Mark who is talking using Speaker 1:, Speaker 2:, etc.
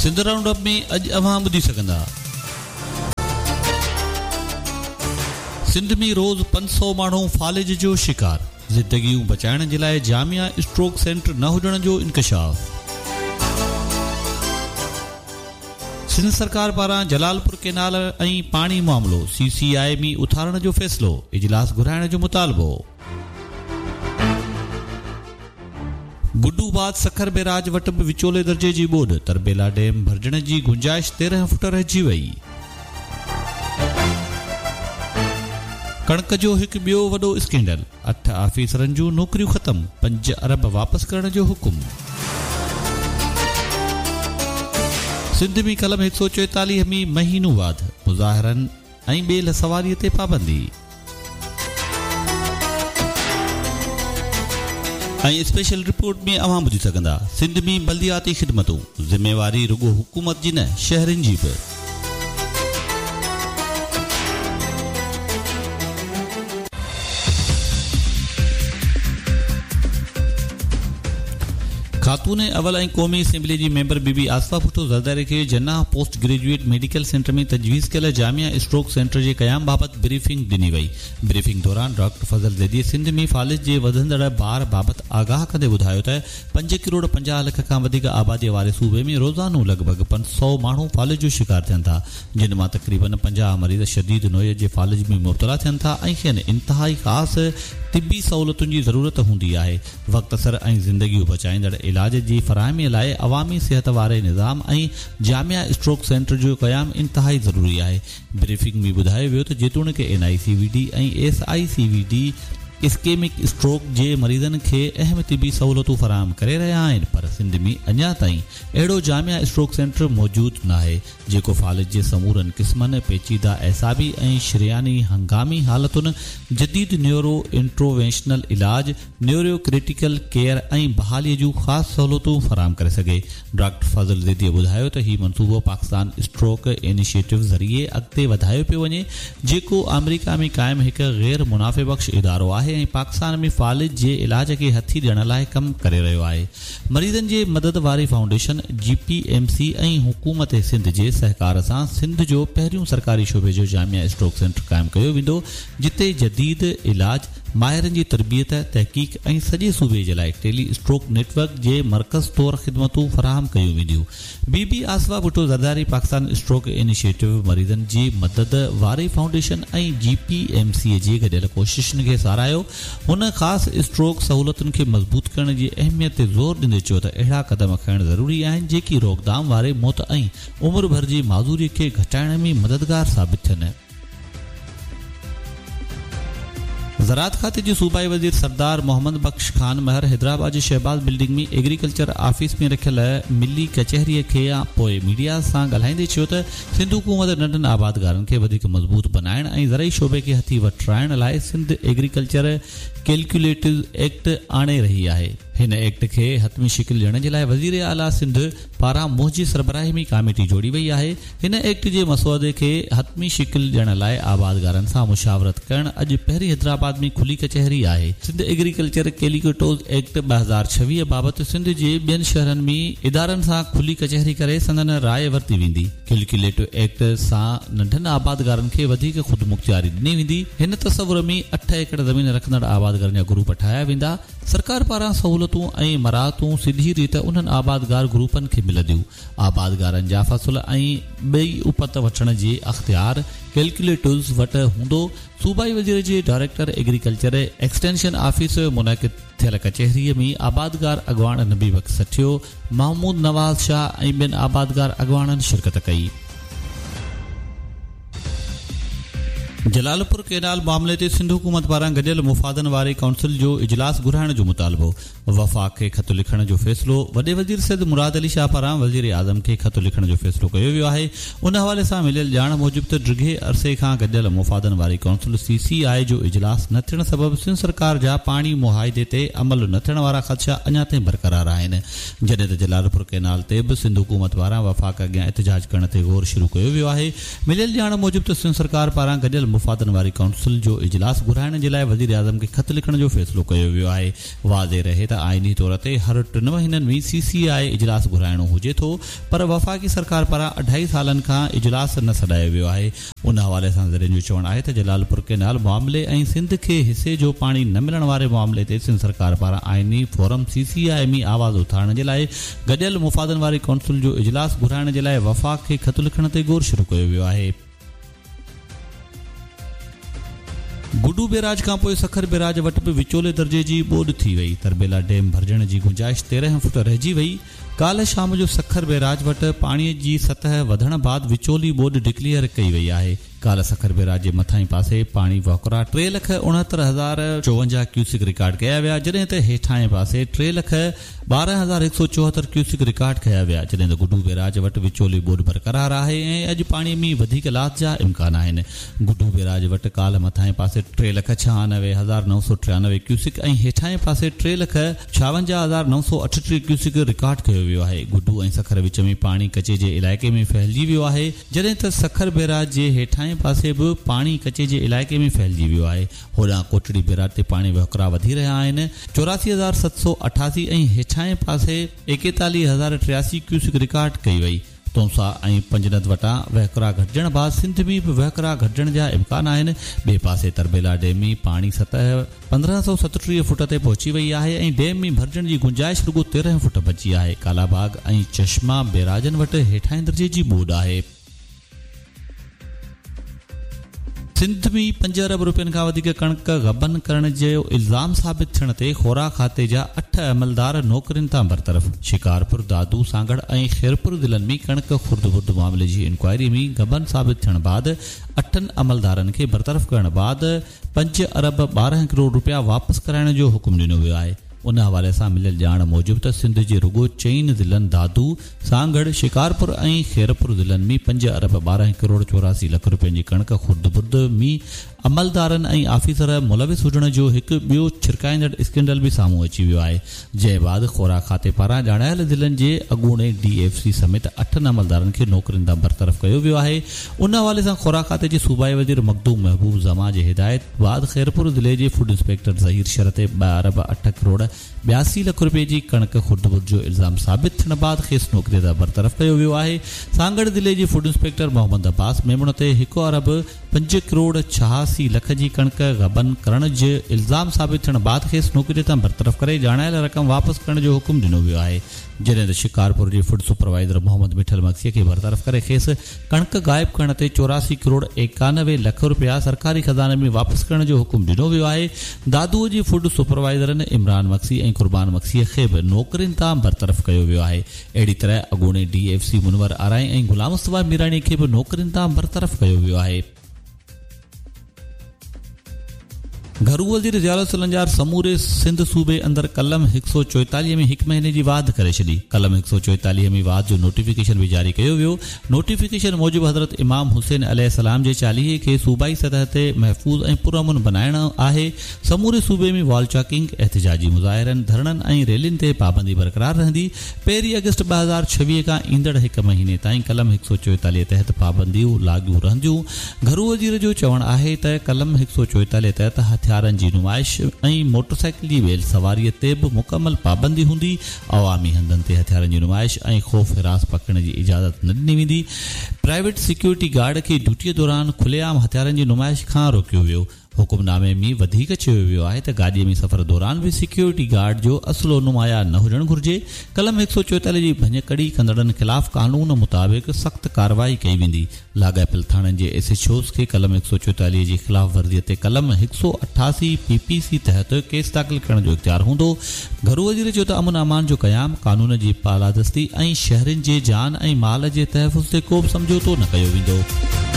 Speaker 1: Sindh round up ۾ اڄ اوهان ٻڌي سگهندا. سنڌ ۾ روز 500 ماڻهو فالج جو شڪار، زندگيون بچائڻ جي لاء جامع اسٽروڪ سينٽر نه هجڻ جو انڪشاف. سنڌ سرڪار پاران جلالپور ڪينال ۽ پاڻي معاملو سي سي آء ۾ اٿارڻ جو فيصلو، اجلاس گهرائڻ جو مطالبو. گڊو بعد سکر بيراج وٽ به وچولي درجي جي ٻوڏ، تربيلا ڊيم ڀرجڻ جي گنجائش 13 فوٽ رهجي وئي. ڪڻڪ جو هڪ ٻيو وڏو اسڪينڊل، اٺ آفيسرن جون نوڪريون ختم، پنج ارب واپس ڪرڻ جو حڪم. سنڌ ۾ قلم 144 ۾ مهينو واڌ، مظاهرن ۽ ٻيلهه سواري تي پابندي. ۽ اسپيشل رپورٽ ۾ اوهان ٻڌي سگهندا سنڌ ۾ بلدياتي خدمتون، ذميواري رڳو حڪومت جي نه شهرين جي به. خاتون اول ۽ قومي اسيمبلي جي ميمبر بي بي آصفه ڀٽو زرداري کي Jinnah post graduate medical centre ۾ تجويز ڪيل جامع اسٽروڪ سينٽر جي قيام بابت بريفنگ ڏني وئي. بريفنگ دوران ڊاڪٽر فضل زيدي سنڌ ۾ فالج جي وڌندڙ بار بابت آگاهه ڪندي ٻڌايو ته پنج ڪروڙ 50 لک کان وڌيڪ آبادي واري صوبي ۾ روزانو لڳ ڀڳ 500 ماڻهو فالج جو شڪار ٿين ٿا جن مان تقريبن 50 مريض شديد نوعيت جي فالج ۾ مبتلا ٿين ٿا ۽ کين انتهائي خاص طبي سهولتن جي ضرورت هوندي آهي. وقت سر ۽ زندگيون بچائيندڙ علاج جي فراهمي لاء عوامي صحت واري نظام ۽ جامع اسٽروڪ سينٽر جو قيام انتهائي ضروري آهي. بريفنگ ۾ ٻڌايو ويو ته جيتوڻيڪ N I C V D ۽ S I C V D ischaemic stroke جي مريضن کي اهم طبي سهولتون فراهم ڪري رهيا آهن پر سنڌ ۾ اڃا تائين اهڙو جامع اسٽروڪ سينٽر موجود ناهي جيڪو فالج جي سمورن قسمن، پيچيده اعصابي ۽ شرياني هنگامي حالتن، جديد نيورو انٽرووينشنل علاج، نيورو ڪريٽيڪل ڪيئر ۽ بحالي جون خاص سهولتون فراهم ڪري سگهي. ڊاڪٽر فضل زيديء ٻڌايو ته هي منصوبو پاڪستان اسٽروڪ انيشيٽو ذريعي اڳتي وڌايو پيو وڃي، جيڪو آمريڪا ۾ قائم هڪ غير منافع بخش ادارو آهي ۽ پاڪستان ۾ فالج جي علاج کي هٿي ڏيڻ لاء ڪم ڪري رهيو آهي. مريضن جي مدد واري فائونڊيشن، جي پي ايم سي ۽ حڪومت سنڌ جي سهڪار سان سنڌ جو پهريون سرڪاري شعبي جو جامع اسٽروڪ سينٽر قائم ڪيو ويندو، جتي جديد علاج، ماهرن جي تربيت، تحقيق ۽ سڄي صوبي جي لاء ٽيلي اسٽروڪ نيٽ ورڪ جي مرڪز طور خدمتون فراهم ڪيون وينديون. بي بي آصفه ڀٽو زرداري پاڪستان اسٽروڪ انيشيٽو، مريضن جي مدد واري فائونڊيشن ۽ جي پي ايم سي جي گڏيل ڪوششن کي ساراهيو. هن خاص اسٽروڪ سهولتن کي مضبوط ڪرڻ جي اهميت تي زور ڏيندي چيو ته اهڙا قدم کڻڻ ضروري آهن جيڪي روڪٿام واري موت ۽ عمر ڀر جي معذوري کي گهٽائڻ ۾ مددگار ثابت ٿين. زراعت کاتي جي صوبائي وزير سردار محمد بخش خان مهر حيدرآباد جي شهباز بلڊنگ ۾ ايگريڪلچر آفيس ۾ رکيل ملي ڪچهري کي پوء ميڊيا سان ڳالهائيندي چيو ته سنڌ حڪومت ننڍن آبادگارن کي وڌيڪ مضبوط بنائڻ ۽ زرعي شعبي کي هٿي وٺرائڻ لاء سنڌ ايگريڪلچر ڪيلڪيوليٽو ايڪٽ آڻي رهي آهي. هن ايڪٽ کي حتمي شڪل ڏيڻ جي لاء وزير اعليٰ سنڌ پاران منهنجي سربراهي ۾ ڪاميٽي جوڙي وئي آهي. هن ايڪٽ جي مسودي کي حتمي شڪل ڏيڻ لاء آبادگارن سان مشاورت ڪرڻ اڄ پهرين حيدرآباد ۾ کلي ڪچهري آهي. سنڌ ايگريڪلچر ڪيليڪيوٽوز ايڪٽ 2026 بابت سنڌ جي ٻين شهرن ۾ ادارن سان کلي ڪچهري ڪري سندن راء ورتي ويندي. ڪيلڪيوليٽو ايڪٽ سان ننڍن آبادگارن کي وڌيڪ خودمختياري ڏني ويندي. هن تصور ۾ اٺ ايڪڙ زمين رکندڙ آبادگارن جا گروپ ٺاهيا ويندا. سرڪار پاران سهولتون ۽ مراعتون سڌي ريت انهن آبادگار گروپن کي ملنديون. آبادگارن جا فصل ۽ ٻئي اپت وٺڻ جي اختيار ڪيلڪيوليٽوز وٽ هوندو. صوبائي وزير جي ڊائريڪٽر ايگريڪلچر ايڪسٽينشن آفيس منعقد ٿيل ڪچهري ۾ آبادگار اڳواڻ نبي بخش سٺيو، محمود نواز شاهه ۽ ٻين آبادگار اڳواڻن شرڪت ڪئي. جلالپور ڪئنال معاملي تي سنڌ حڪومت پاران گڏيل مفادن واري ڪائونسل جو اجلاس گهرائڻ جو مطالبو، وفاق کي خط لکڻ جو فيصلو، وڏي وزير سيد مراد علي شاهه پاران وزيراعظم کي خط لکڻ جو فيصلو ڪيو ويو آهي، ان حوالي سان مليل ڄاڻ موجب ته ڊگهي عرصي کان گڏيل مفادن واري ڪائونسل سي سي آء جو اجلاس نه ٿيڻ سبب سنڌ سرڪار جا پاڻي معاهدي تي عمل نه ٿيڻ وارا خدشا اڃا تائين برقرار آهن جڏهن ته جلالپور ڪئنال تي به سنڌ حڪومت پاران وفاق اڳيان احتجاج ڪرڻ تي غور شروع ڪيو ويو آهي مليل ڄاڻ موجب ته سنڌ سرڪار پاران گڏيل. مفادن واري ڪائونسل جو اجلاس گهرائڻ جي لاء وزيراعظم کي خط لکڻ جو فيصلو ڪيو ويو آهي. واضح رهي ته آئيني طور تي هر ٽن مهينن ۾ سي سي آء اجلاس گهرائڻو هجي ٿو پر وفاقي سرڪار پاران اڍائي سالن کان اجلاس نه سڏايو ويو آهي. ان حوالي سان ذريعن جو چوڻ آهي ته جلالپور ڪئنال معاملي ۽ سنڌ کي حصي جو پاڻي نه ملڻ واري معاملي تي سنڌ سرڪار پاران آئيني فورم سي سي آء ۾ آواز اٿارڻ جي لاء گڏيل مفادن واري ڪائونسل جو اجلاس گهرائڻ جي لاء وفاق کي خط لکڻ تي غور شروع ڪيو ويو آهي. گڊو بيراج کانپوء سکر بيراج وٽ به وچولي درجي جي ٻوڏ ٿي وئي، تربيلا ڊيم ڀرجڻ جي گنجائش 13 فوٽ رهجي وئي، ڪالهه شام جو سکر بيراج وٽ پاڻي جي سطح وڌڻ بعد وچولي ٻوڏ ڊڪليئر ڪئي وئي آهي. ڪالهه سکر بيراج جي مٿاهين پاسي پاڻي وهڪرا ٽي لک اڻهتر هزار چوونجاهه ڪيوسڪ رڪارڊ ڪيا ويا جڏهن ته هيٺاهين پاسي ٽي لک 12,174 ڪيوسڪ رڪارڊ ڪيا ويا جڏهن ته گڊو بيراج وٽ وچولي ٻوڏ برقرار آهي ۽ اڄ پاڻي ۾ وڌيڪ لاٿ جا امڪان آهن. گڊو بيراج وٽ ڪالهه مٿاهين پاسي ٽي لک ڇهانوي هزار 993 ڪيوسڪ ۽ هيٺاهين پاسي ٽي لک 56,938 ڪيوسڪ رڪارڊ ڪيو ويو آهي. گڊو ۽ سکر وچ ۾ پاڻي ڪچي جي علائقي ۾ ڦهلجي ويو آهي، جڏهن ته سکر بيراج جي هيٺاهين پاسي به پاڻي ڪچي جي علائقي ۾ ڦهلجي ويو آهي. هوڏانهن ڪوٽڙي بيراج تي پاڻي وهڪرا وڌي رهيا آهن، 84,788 ۽ هيٺاهين پاسي 41,083 ڪيوسڪ رڪارڊ ڪئي وئي. تونسا ۽ پنجند وٽان وهڪرا گهٽجڻ بعد سنڌ ۾ به وهڪرا گهٽجڻ جا امڪان آهن. ٻئي پاسي تربيلا ڊيم ۾ پاڻي سطح 1537 فوٽ تي پهچي وئي آهي ۽ ڊيم ۾ ڀرجڻ جي گنجائش رڳو 13 فوٽ بچي آهي. ڪالا باغ ۽ چشما بيراجن وٽ هيٺاهين درجي جي ٻوڏ آهي. سنڌ ۾ پنج ارب روپين کان وڌيڪ ڪڻڪ غبن ڪرڻ جو الزام ثابت ٿيڻ تي خوراڪ کاتي جا اٺ عملدار نوڪرين تان برطرف، شڪارپور، دادو، سانگهڙ ۽ خيرپور ضلعن ۾ ڪڻڪ خرد برد معاملي جي انڪوائري ۾ غبن ثابت ٿيڻ بعد اٺن عملدارن کي برطرف ڪرڻ بعد پنج ارب 12 ڪروڙ روپيا واپس ڪرائڻ جو حڪم ڏنو ويو آهي. ان حوالي سان مليل ڄاڻ موجب ته سنڌ جي رڳو چئن ضلعن دادو، سانگهڙ، شڪارپور ۽ خيرپور ضلعن ۾ پنج ارب 12 ڪروڙ 84 لک روپين جي ڪڻڪ خرد برد ۾ عملدارن ۽ آفيسر ملوث هجڻ جو هڪ ٻيو ڇرڪائيندڙ اسڪينڊل به سامهون اچي ويو آهي جنهن بعد خوراڪ کاتي پاران ڄاڻايل ضلعن جي اڳوڻي ڊي ايف سي سميت اٺن عملدارن کي نوڪرين تان برطرف ڪيو ويو آهي ان حوالي سان خوراڪ کاتي جي صوبائي وزير مخدوم محبوب زمان جي هدايت بعد خيرپور ضلعي جي فوڊ انسپيڪٽر ظهير شر تي ٻه ارب اٺ ڪروڙ 82 لک روپين جي ڪڻڪ خرد برد جو الزام ثابت ٿيڻ بعد کيس نوڪري تان برطرف ڪيو ويو آهي. سانگهڙ ضلعي جي فوڊ انسپيڪٽر محمد عباس ميمڻ تي هڪ ارب پنج ڪروڙ 86 لک جي ڪڻڪ غبن ڪرڻ جو الزام ثابت ٿيڻ بعد کيس نوڪري تان برطرف ڪري ڄاڻايل رقم واپس ڪرڻ جو حڪم ڏنو ويو آهي. جڏهن ته شڪارپور جي فوڊ سپروائيزر محمد مٺل مگسي کي برطرف ڪري کيس ڪڻڪ غائب ڪرڻ تي 84 ڪروڙ 91 لک رپيا سرڪاري خزاني ۾ واپس ڪرڻ جو حڪم ڏنو ويو آهي. دادوء جي فوڊ سپروائيزرن عمران مگسي ۽ قربان مگسيء کي به نوڪرين تان برطرف ڪيو ويو آهي. اهڙي طرح اڳوڻي ڊي ايف سي منور آرائين ۽ غلام مصطفيٰ ميراڻي کي به نوڪرين تان برطرف ڪيو ويو آهي. گهرو وزير ضياء الحسن لنجار سموري سنڌ صوبي اندر قلم 144 ۾ هڪ مهيني جي واڌ ڪري ڇڏي. قلم 144 ۾ واڌ جو نوٽيفڪيشن به جاري ڪيو ويو. نوٽيفڪيشن موجب حضرت امام حسين عليه السلام جي چاليهي کي صوبائي سطح تي محفوظ ۽ پرامن بنائڻ آهي. سموري صوبي ۾ وال چاڪنگ، احتجاجي مظاهرن، ڌرڻن ۽ ريلين تي پابندي برقرار رهندي. پهرين آگسٽ 2026 کان ايندڙ هڪ مهيني تائين قلم 144 تحت پابنديون لاڳو رهنديون. گهرو وزير جو چوڻ آهي ته قلم 144 تحت هٿيارن جي نمائش ۽ موٽرسائيڪل جي ويل سواري تي به مڪمل پابندي هوندي، عوامي هنڌن تي هٿيارن جي نمائش ۽ خوف هراس پکيڙڻ جي اجازت نه ڏني ويندي، پرائيويٽ سيڪيورٽي گارڊ کي ڊيوٽي دوران کلي عام هٿيارن جي نمائش کان روڪيو ويو. حڪم نامي ۾ وڌيڪ چيو ويو آهي ته گاڏي ۾ سفر دوران به سيڪيورٽي گارڊ جو اسلحو نمايان نه هجڻ گهرجي، قلم 144 جي ڀڃڪڙي ڪندڙن خلاف قانون مطابق سخت ڪارروائي ڪئي ويندي، لاڳاپيل ٿاڻن جي ايس ايڇ اوز کي قلم 144 جي خلاف ورزي تي قلم 188 پي پي سي تحت ڪيس داخل ڪرڻ جو اختيار هوندو، گهرو وزير چيو ته امن امان جو قيام، قانون جي بالادستي ۽ شهرين جي جان ۽ مال جي تحفظ تي ڪوبه سمجهوتو نه ڪيو ويندو.